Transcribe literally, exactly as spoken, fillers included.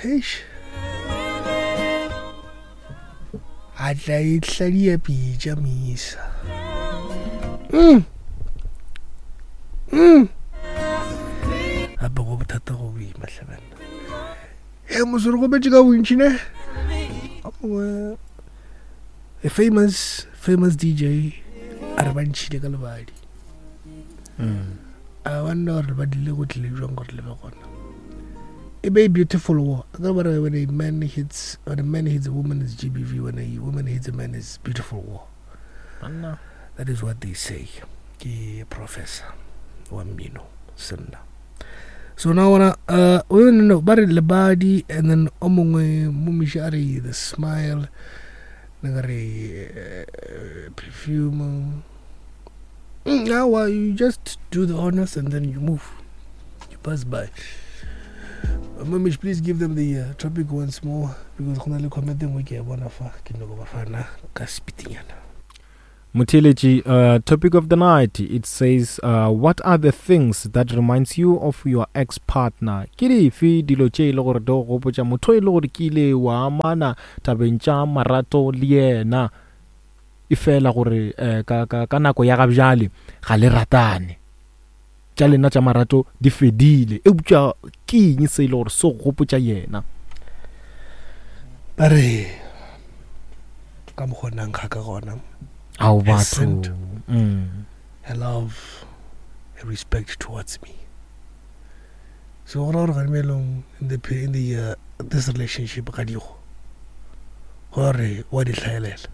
Heish. A tla e hladia pitša misa. Mm. Mm. Gape go bothata go boima hle banna. E mosore go betše ka bontši ne. O mongwe a famous famous D J a re ba ntšhile ka lebadi. Mm. A wonder gore lebadi le go tlile jwang gore le be gona. E be beautiful war. A ka ba re when a man hits when a man hits a woman is G B V, when a woman hits a man is beautiful war. Banna. That is what they say. Ke professor wa mmino senna. So now wanna uh we no no ba re lebadi, and then o mongwe momiši a re the smile, ne ka re uh, perfume. Mm, now well, you just do the honors and then you move. You pass by. Uh, Mamish, please give them the uh, topic once more because go na le comment e nngwe ke a bona fa ke nyako ba fana ka speedinyana. Motheeletši, uh, topic of the night, it says, uh, what are the things that reminds you of your ex-partner? Ke dife dilo tše e le gore di go gopotša motho e le gore ke ile wa amana tabeng tša marato le yena, e fela gore eh, ka, ka, ka nako ya gabjale ga le ratane, tša lena tša marato di fedile, eupša ke eng se e le gore se go gopotša yena? Ba re ka mokgwa o nang ga ka gona. Ao Her batho. Scent. mm. Her love, her respect towards me. So go ra gore gane bjalong in the in the uh, this relationship ga digo gore wa di hlaelela.